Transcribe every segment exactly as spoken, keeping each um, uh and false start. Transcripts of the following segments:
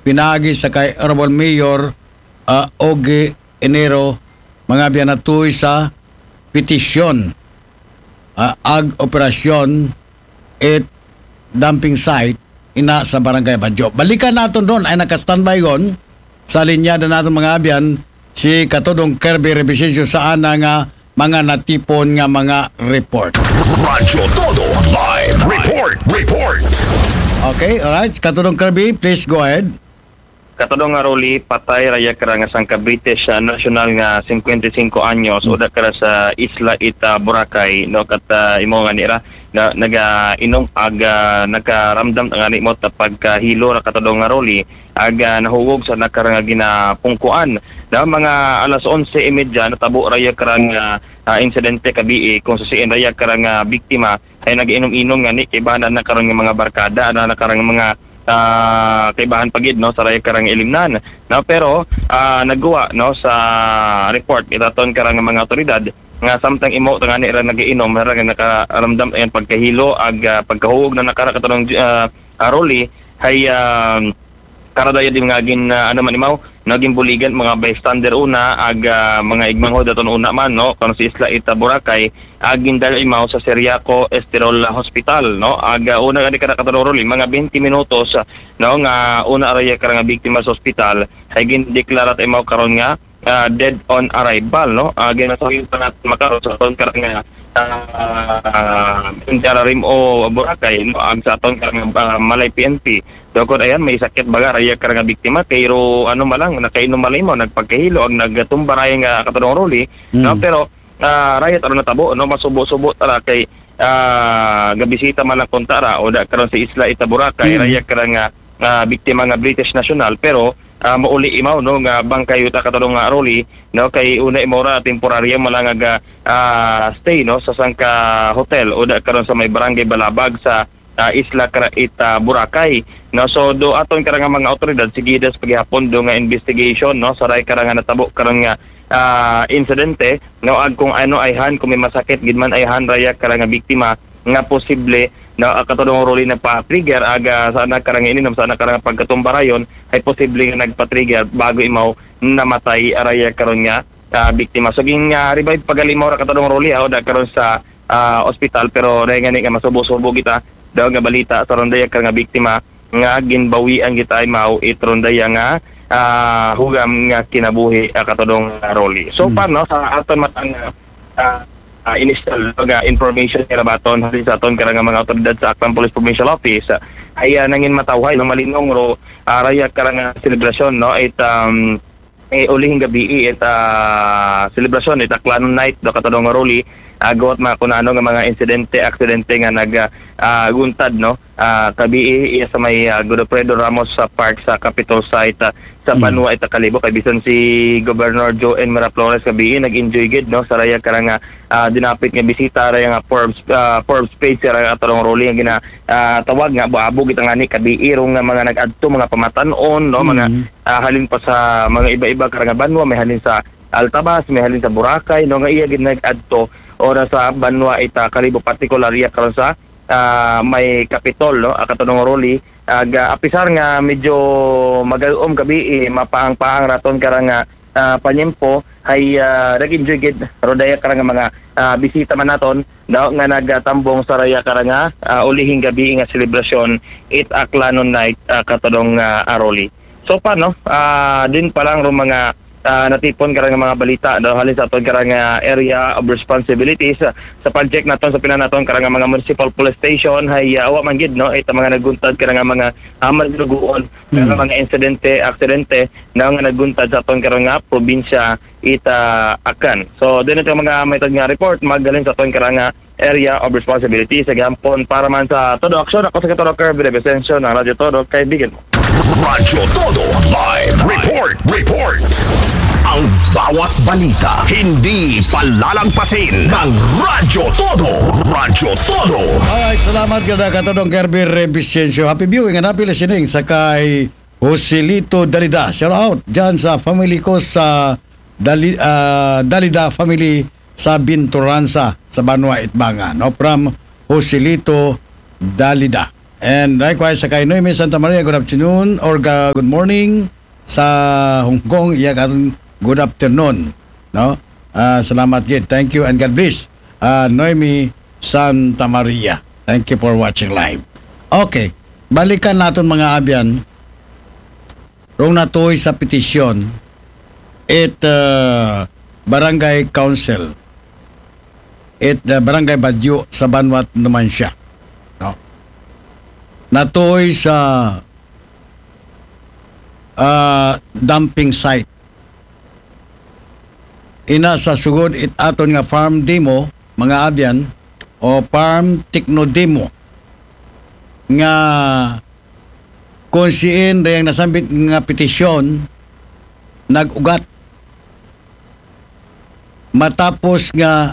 pinaagi sa kay Honorable Mayor, ah, Ogie Enero, mga biyanatuy sa petisyon, ah, ag operasyon at dumping site ina sa Barangay Badyo. Balikan naton ron, ay naka-standby ron sa linya na naton mga abyan, si Katudong Kirby Revisencio sa ana nga mga natipon nga mga report. Radyo Todo Live Report. Report. Okay, alright. Katudong Kirby, please go ahead. Katudong nga Rolly, patay raya kara nga sangka British ah, national nga singkwenta y singko anyos, uda kara sa Isla Ita, Boracay, no, kat ah, imo nga nira na, naga inom ag ah, nakaramdam nga nimo ta pagkahilo ra katudong nga Rolly, ag ah, nahugog sa nakara nga ginapungkuan. Na mga alas onse y media natabo raya kara nga ah, insidente kabii kung sa siin raya kara nga biktima ay nag-inom-inom nga ni kaibahan na karon nga mga barkada na nakarang mga ah, kaibahan pagid no sa raya karang ilimnan, no, pero ah, nagguwa no sa report itaton karang mga otoridad nga samtang imo tangani ra nag-iinom ra nga nakaramdam ayan pagkahilo ag ah, pagkahulog na nakara katarong ah, Rolly hay ah, karadaya din nga gin ah, ano man imaw naging buligan mga bystander una ag ah, mga igmanghod aton una man no kano sa Isla Ita, Boracay ag gindala imaw sa Seriaco Estoril Hospital no ag ah, una gani kada katarong Rolly mga twenty minutos ah, no nga una araya karang biktima sa ospital ay gindeklara ta imaw karon nga ah, dead on arrival no ag ginasawi pa natin makaron sa aton karang ah, ah, Interarim o Boracay no ag sa aton karang ah, Malay P N P. Dokod ayan may sakit baga raya karang biktima kay ro ano malang nakainom malimo nagpagkahilo ang nagtumba raya nga katarong Rolly no pero ah, raya taro natabo no masubo-subo tara kay ah, gabisita man lang kuntara o da karon sa Isla Ita, Boracay raya karang ah, ah, biktima nga British national pero ah, mauli imaw no nga bangkay uta katarong nga Rolly no kay una imaw ra temporaryo man lang nga ah, stay no sa sangka hotel o da karon sa may barangay Balabag sa ah, Isla Craita, Boracay. No, so do aton karang mga otoridad sige das paghihapon do nga investigation no sa ray karang natabo karang nga ah, insidente no ag kung ano ay han kung may masakit gid man ay han raya karang biktima nga posible no ah, katulong Rolly nagpa-trigger aga sa anak karang ininom sa anak karang pagkatumbarayon ay posible nga nagpa-trigger bago imaw namatay araya karon nga ah, biktima. So ging ah, revive pagalimaw ra katulong Rolly ha, da karon sa ah, ospital pero dahil nga ni nga masubo-subo kita daw nga balita sa rondaya ka nga biktima nga ginbawian kita ay mao it rondaya nga ah, hugam nga kinabuhi ah, katudong ah, Rolly. So Mm. far no sa aton matang ah, ah, initial nga information nga baton halin sa aton karang mga otoridad sa Aklan Police Provincial Office ah, ay ah, nangin matawhay no malinong ro araya karang selebrasyon no it um, eh, ulihing gabi it ah, selebrasyon it Aklanon Night do katudong nga Rolly agot mga kunano nga mga insidente aksidente nga nag ah, guntad no ah, kabii iya sa may ah, Godofredo Ramos sa park sa Capitol site ah, sa Mm. Banwa ita Kalibo kay bisan si Governor Joe N. Miraflores kabii nag-enjoy gid no sa raya karang ah, dinapit nga bisita raya nga Forbes ah, Forbes page sa raya tarong Rolly nga gina ah, tawag nga buabo kita ngani kabii rong nga mga nag-adto mga pamatan-on no mga Mm. ah, halin pa sa mga iba-iba karang banwa may halin sa Altabas may halin sa Boracay no nga iya gid nag-adto ora sa banwa ita Kalibo particular iya karon sa ah, may Kapitol no ah, katudong Rolly ag ah, apisar nga medyo magalom kabii mapaang-paang raton karang ah, ah, panyempo hay ah, nag-enjoy gid rodaya karang mga ah, bisita man naton no nga nagatambong sa raya karang ah, ulihing gabi nga selebrasyon it Aklanon Night ah, katudong ah, Rolly. So pa no, ah, din pa lang ro mga ah, natipon karang mga balita daw halin sa aton karang ah, area of responsibilities ah, sa pag-check naton sa pila naton karang mga municipal police station hay ah, wa man gid no ita mga naguntad karang mga amal luguon karang mga insidente aksidente na nga naguntad sa aton karang nga probinsya ita Akan. So din ito mga maytag nga report maghalin sa aton karang ah, area of responsibility sa gihapon para man sa Todo Aksyon. Ako sa Katoro Kirby Revisencio ng Radyo Todo, kaibigan mo. Radyo Todo Live Report. Report. Ang bawat balita hindi palalagpasin ng Radyo Todo. Radyo Todo. Alright, salamat kada katudong Kirby Revisencio. Happy viewing and happy listening sa kay Joselito Dalida. Shout out dyan sa family ko sa Dali, ah, Dalida family sa Binturansa sa Banwa Itbanga. No? From Joselito Dalida. And likewise, sa kay Noemi Santa Maria, good afternoon or ga-, good morning. Sa Hong Kong, iya karon, good afternoon. No? Ah, salamat gid. Thank you and God bless. Ah, Noemi Santa Maria. Thank you for watching live. Okay. Balikan naton, mga abyan. Rong natuoy sa petisyon, it, ah, barangay council, it, ah, barangay Badyo sa Banwat Numancia. No? Natuoy sa, ah, dumping site. Ina sa sugod it aton nga farm demo, mga abyan, o farm techno demo, nga kung siin riyang nasambit nga petisyon nag-ugat matapos nga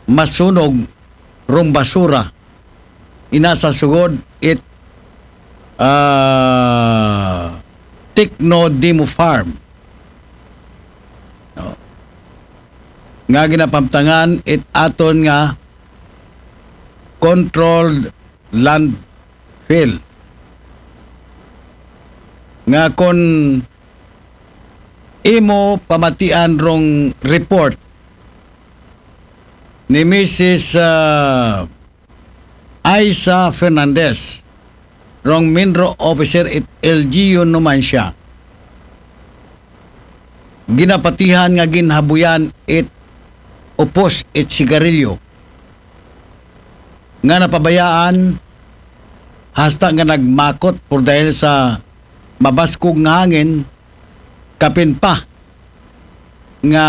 masunog rong basura ina sa sugod it, ah, Techno Demo Farm. No? Nga ginapamtangan it aton nga controlled landfill. Nga kon imo pamatian rong report ni Missus, ah, Aiza Fernandez, rong MINRO officer it L G U Numancia, ginapatihan nga ginhabuyan it upos it sigarilyo nga napabayaan hasta nga nagmakot por dahil sa mabaskog nga hangin, kapin pa nga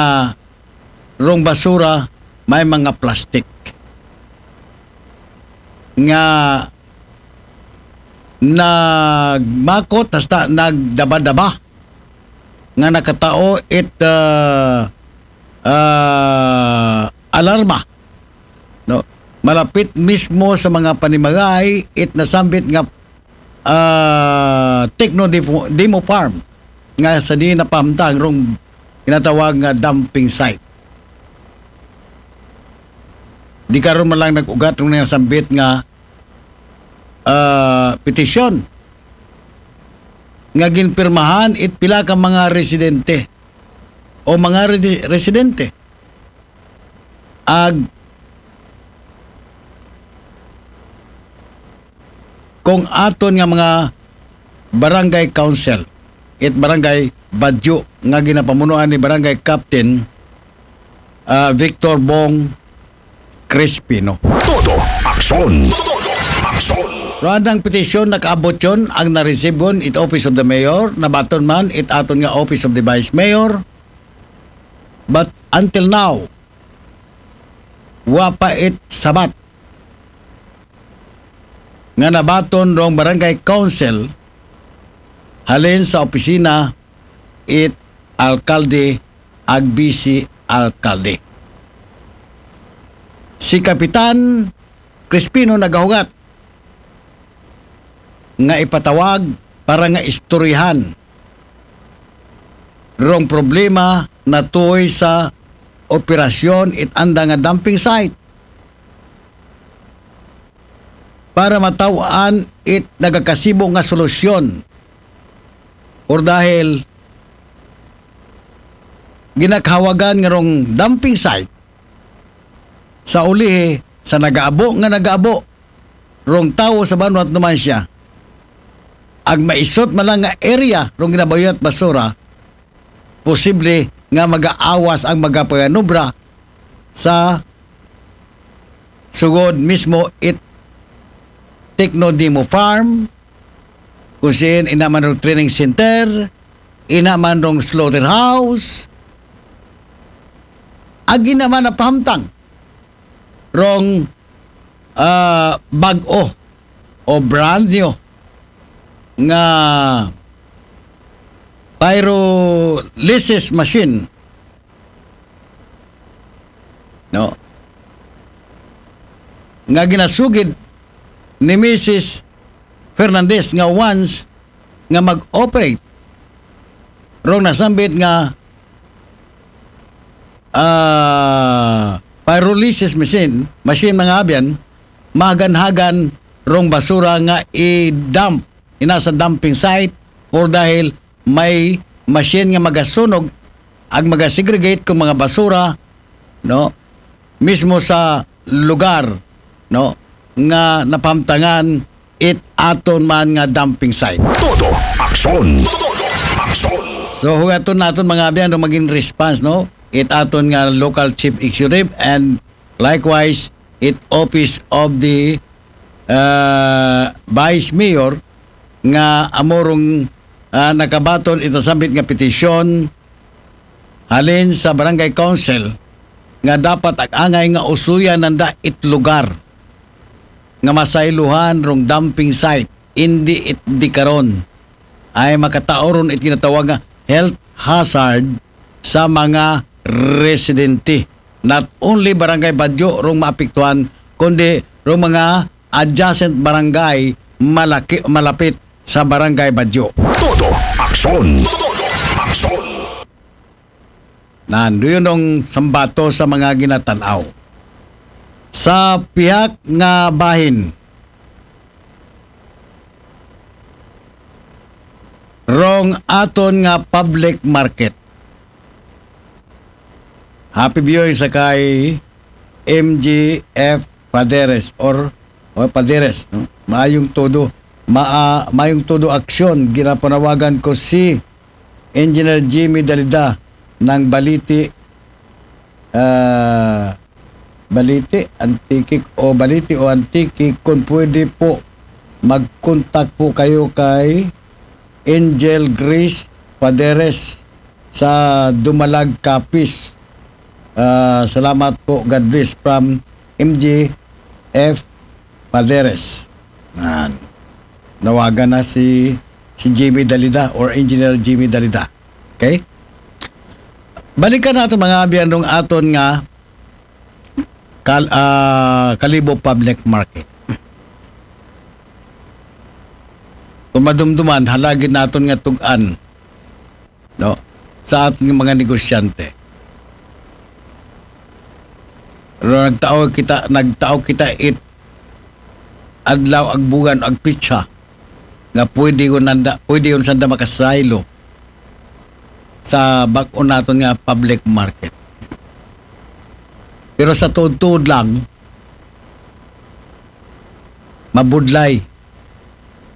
rong basura may mga plastic nga nagmakot hasta nagdaba-daba nga nakatao it, ah, ah, alarma, no? Malapit mismo sa mga panimagay it nasambit nga, ah, techno demo, demo farm nga sa di napahamtang rong ginatawag nga dumping site. Di karon man lang nag-ugat rong nasambit nga, ah, petisyon nga ginpirmahan it pila ka mga residente o mga resi-, residente. Ag kung aton nga mga barangay council, it barangay Badyo nga ginapamunuan ni barangay captain, ah, Victor Bong Crispino. Todo aksyon. Todo aksyon. Randang petisyon nakaabot yon ang naresibon it Office of the Mayor, nabaton man it aton nga Office of the Vice Mayor. But until now, wa pa it sabat nga nabaton rong barangay council halin sa opisina it alkalde ag bisi alkalde. Si Kapitan Crispino nagahugat nga ipatawag para nga istoryahan rong problema natuoy sa operasyon it anda nga dumping site para mataw-an it nagakasibo nga solusyon. Or dahil ginakahawagan nga rong dumping site sa ulihi sa nagaabo nga nagaabo rong tawo sa Banwat Numancia, ag maisot man lang nga area rong ginabayat basura, posible nga magaawas ang magapaganubra sa sugod mismo it Techno Demo Farm, kung siin ina man rong training center, ina man rong slaughterhouse, ag ina man napahamtang rong, ah, bag-o o brand new nga pyrolysis machine, no? Nga ginasugid ni Missus Fernandez nga once nga mag-operate rong nasambit nga, ah, pyrolysis machine, machine, mga abyan, mahagan-hagan rong basura nga i-dump ina sa dumping site, or dahil may machine nga magasunog ag magasegregate kung mga basura, no, mismo sa lugar, no, nga napamtangan it aton man nga dumping site. Todo aksyon. Todo aksyon. So, hugaton naton mga abyan, no, maging response, no, it aton nga local chief executive and likewise it office of the uh, vice mayor nga amorong uh, nakabaton ita sambit nga petisyon halin sa barangay council nga dapat ag-angay nga usuyan nanda it lugar nga masayluhan rong dumping site, indi it di karon ay makataoron it ginatawag nga health hazard sa mga residente. Not only Barangay Badyo rong maapektuhan, kundi rong mga adjacent barangay malaki, malapit sa Barangay Badyo. Todo aksyon. Todo aksyon. Nanduyon ng sambato sa mga ginatanaw. Sa pihak nga bahin, rong aton nga public market. Happy viewing sa kay M G F Paderes or, or Paderes, no? Maayong todo. Ma, maayong todo aksyon. Ginapanawagan ko si Engineer Jimmy Dalida ng Baliti, ah, Baliti, Antique o Baliti o Antique, kung pwede po, mag-contact po kayo kay Angel Grace Paderes sa Dumalag, Capiz. Ah, salamat po. God bless from M G F Paderes. Nan. Nawagan na si si Jimmy Dalida or Engineer Jimmy Dalida. Okay? Balikan natin mga abyan rong aton nga kal, ah, Kalibo Public Market. Kung madumduman, halagid naton nga tugan, no, sa aton nga mga negosyante. Pero nagtao kita, nagtao kita it adlaw, ag bugan, ag pitsa nga pwede ko nanda, pwede yun sanda makasaylo sa bag-o naton nga public market. Pero sa tuod-tuod lang, mabudlay.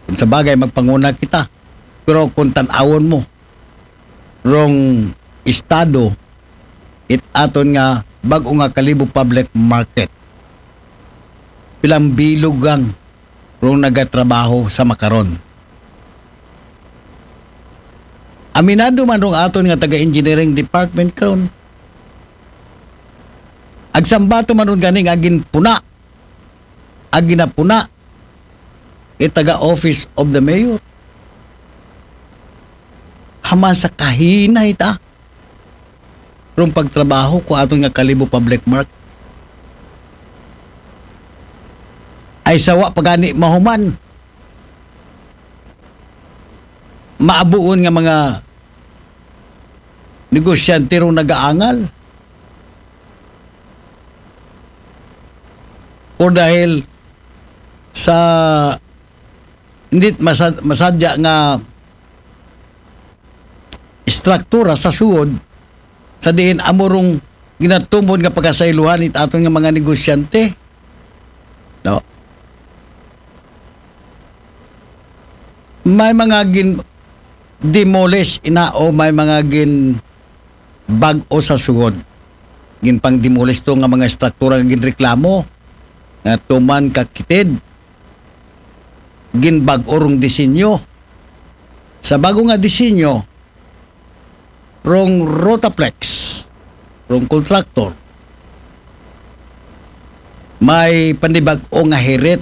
Kung sa bagay, magpanguna kita. Pero kung tan-awon mo, rong estado, it aton nga bag-o nga Kalibo Public Market, pilang bilog ang rong nagatrabaho sa makaron. Aminado man rong aton nga taga-engineering department karon. Agsambato man ron gani nga ginpuna, ag ginapuna, it taga Office of the Mayor. Haman sa kahinay ta rong pagtrabaho ko aton nga Kalibo Public Market. Ay sawa pa gani mahuman. Maabuon nga mga negosyante rong nagaangal. Or dahil sa hindi masad, masadya nga istruktura sa suod, sa diin amo rong ginatumod nga pagkasaylohan it aton nga mga negosyante. No? May mga gin demolish ina o may mga gin bag-o sa suod. Ginpang demolish to nga mga istruktura nga ginreklamo nga tuman ka kitid. Ginbag-o rong disenyo. Sa bago nga disenyo, rong Rotaflex, rong contractor, may panibag-o nga hirit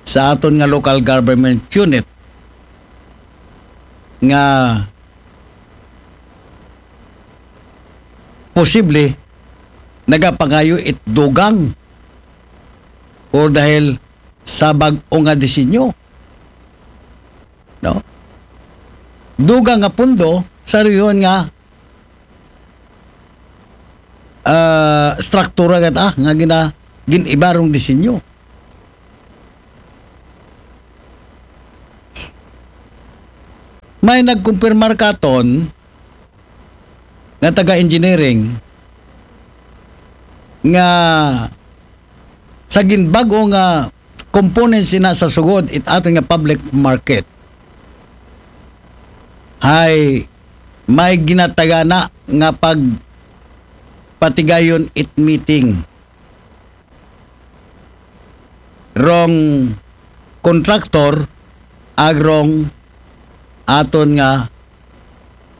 sa aton nga local government unit nga posible nagapangayo it dugang o dahil sa bag-o nga disenyo. No? Dugang nga pundo sa rehiyon nga ah, struktura gata nga gina gin-iba rong disenyo. May nagkumpirmar katon nga taga engineering nga sa ginbag-o nga components ina sa sugod it aton nga public market, hay may ginatagana nga pagpatigayon it meeting rong contractor ag rong aton nga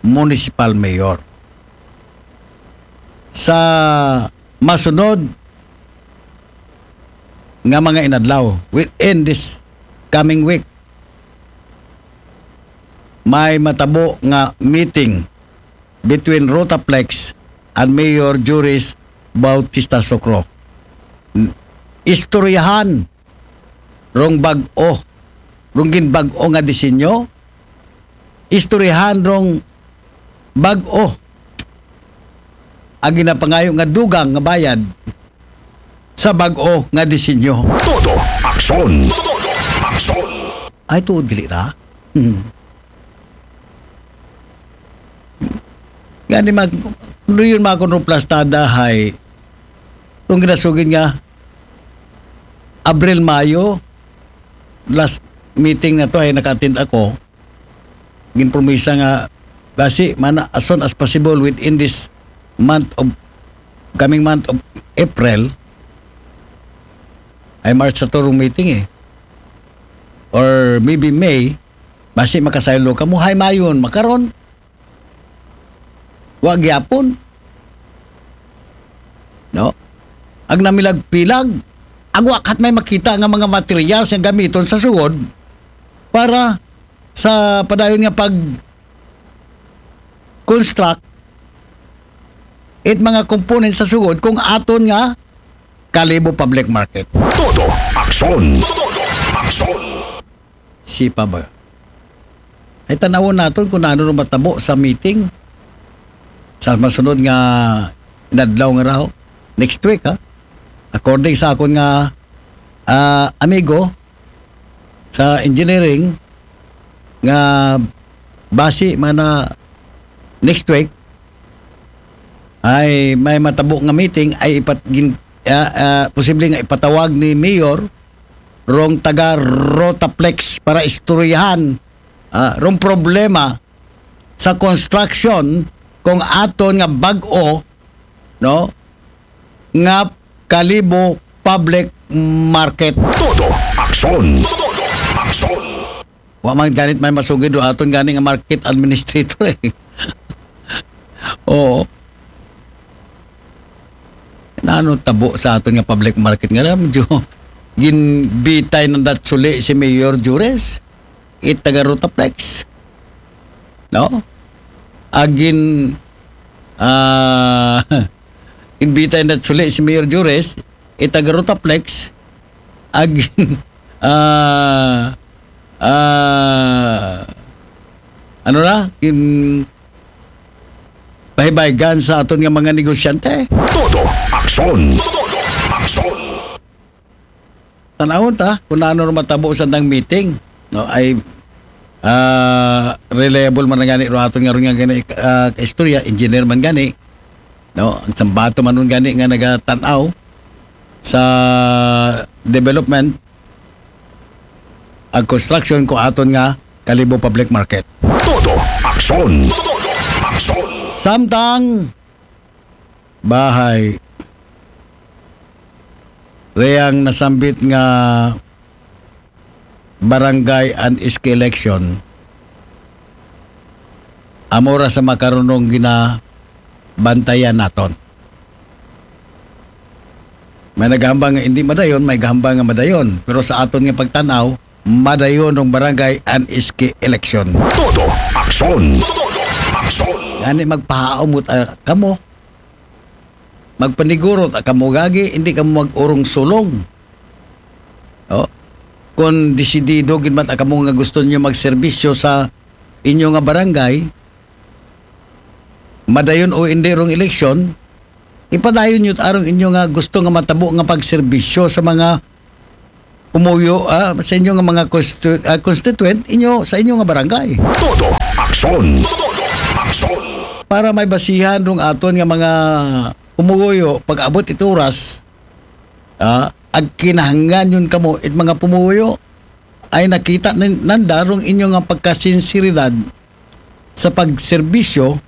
municipal mayor. Sa masunod nga mga inadlaw, within this coming week, may matabo nga meeting between Rotaplex and Mayor Juris Bautista Socro. Istoryahan rong bag-o, rong ginbag-o nga disenyo, istoryahan rong bag-o ang ginapangayo nga dugang nga bayad sa bag-o nga disenyo. Todo aksyon. Todo aksyon. Ay, tuod gali ra. Hmm. Gani mag, luyon ma akong ruplastada hay kung ginasugid nga Abril, Mayo, last meeting na to ay naka-attend ako. Ginpromisa nga basi man as soon as possible within this month of, coming month of April, ay March sa turong meeting eh. Or maybe May, basi makasaylo kamo, hay mayon, makaron. Wa gyapon. No? Ag namilag-pilag, ag wa kat may makita nga mga materials nga gamiton sa sugod para sa padayon nga pag construct it mga components sa sugod kung aton nga Kalibo Public Market. Todo aksyon. Todo aksyon. Sipa ba? Ay, tanawon naton kung ano matabo sa meeting sa masunod nga inadlaw nga raho. Next week, ha? According sa akon nga, ah, amigo sa engineering, nga basi man na next week, ay may matabo nga meeting ay ipat-, gin-, ah, ah, posible nga ipatawag ni Mayor rong taga Rotaplex para istoryahan, ah, rong problema sa construction kung aton nga bag-o, no, nga Kalibo Public Market. Todo aksyon. Todo aksyon. Wa man ganit may masugid do aton gani nga market administrator eh. Oo. Nano tabo sa aton nga public market nga medyo ginbitay ng datsuli si Mayor Jures, it taga Rotaplex. No? Agin, ah, ginbitay ng datsuli si Mayor Jures, it taga Rotaplex, agin, ah, ah, ano na, in, pahibaygan sa aton nga mga negosyante. Todo aksyon. Todo aksyon. Tanawon ta kung ano matabo sa tang meeting, no? Ay, ah, reliable man gani ro aton nga ron nga gani, ah, istorya, engineer man gani, no? Ang sambato man ron gani nga nagatan-aw sa development ag construction ko aton nga Kalibo Public Market. Todo aksyon. Todo aksyon. Samtang bahay reyang nasambit nga barangay and S K election, amo ra sa makarunong ginabantayan naton. May naghambal nga hindi madayon, may gahambal nga madayon. Pero sa aton nga pagtanaw, madayon ng barangay and S K election. Todo aksyon. Todo aksyon. Gani magpahaumot, ah, kamo. Magpanigurot, ah, kamo gagi, hindi kamo mag-urong sulong. Oh. Kung desidido gid man, ah, kamo nga gusto niyo magserbisyo sa inyo nga barangay, madayon o hindi rong eleksyon, ipadayon niyo arong inyo nga gusto nga matabo nga pagserbisyo sa mga umuyo, ah, sa inyo nga mga constitu-, ah, constituent inyo sa inyo nga barangay. Todo Aksyon! Aksyon! Para may basihan rong aton nga mga pumuguyo, pag-abot it oras, ah, ag kinahanglan yun kamo, it mga pumuguyo, ay nakita nin-, nanda rong inyo nga pagkasinseridad sa pagserbisyo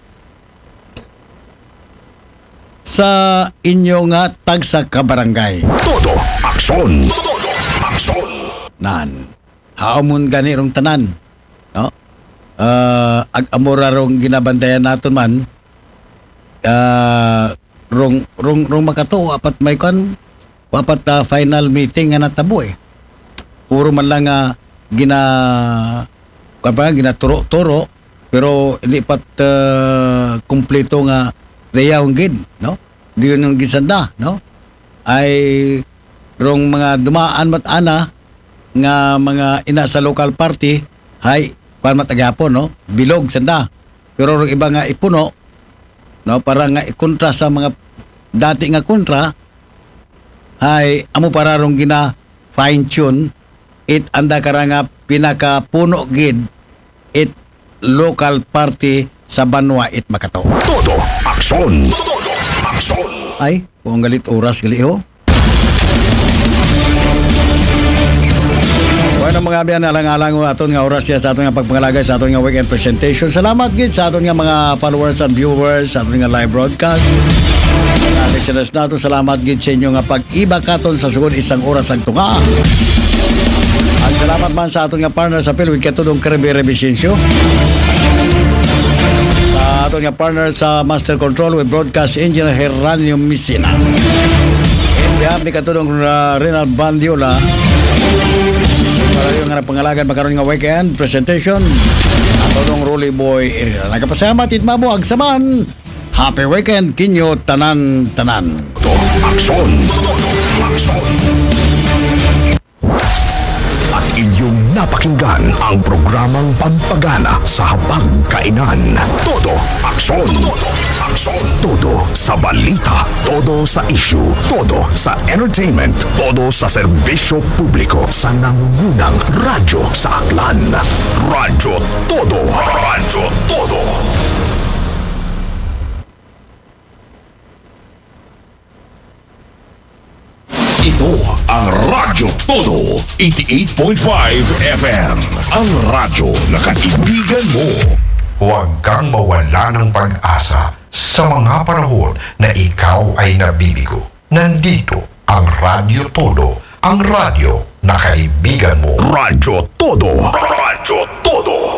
sa inyo nga tagsa ka barangay. Todo aksyon. Todo aksyon. Nan. Haumon gani rong tanan. No? Ah, ag amura rong ginabantayan naton man, ah, rong, rong, rong makato, apat may kwan, apat, ah, final meeting nga natabo eh. Puro man lang nga gina-, kwan pa, ginaturo-turo, pero hindi pat, ah, kumpleto nga dayahon gid, no? Diyon yung ginsanda, no? Ay rong mga dumaan mat ana nga mga ina sa local party, hay, kwan mat agyapon, no? Bilog sanda. Pero rong iba nga ipuno, no? Para nga ikontra sa mga dati nga kontra, hay, amo para rong gina fine tune it anda kara nga pinakapuno gid it local party sa banwa it makato. Todo aksyon. Todo aksyon. Ay, kung galit oras gali ho. Bueno, mga abyan, alang-alang ho aton nga oras siya sa aton nga pagpangalagay sa aton nga weekend presentation. Salamat gid sa aton nga mga followers and viewers sa aton nga live broadcast. Mga listeners nato, salamat gid sa inyo nga pag-iba katon sa sugod isang oras ang tunga. Ang salamat man sa aton nga partner sa Pilwig, katudong Kirby Revicencio. Sa aton nga partner sa Master Control with Broadcast Engineer Heranio Misina. In behalf ni katudong, uh, Renal Bandiola, para yung nga nagpangalagan makaron nga weekend presentation, katudong Rolly Boy Area. Nagapasalamat it mabuag saman. Happy weekend kinyo tanan-tanan. Aksyon! Aksyon! At inyong napakinggan ang programang pampagana sa habag kainan. Todo aksyon! Todo aksyon! Todo sa balita, todo sa issue, todo sa entertainment, todo sa serbisyo publiko sa nangungunang radyo sa Aklan. Radyo Todo! Radyo Todo! Ito ang Radyo Todo, eighty-eight point five F M. Ang radyo na kaibigan mo. Huwag kang mawala ng pag-asa sa mga panahon na ikaw ay nabibigo. Nandito ang Radyo Todo, ang radyo na kaibigan mo. Radyo Todo. Radyo Todo.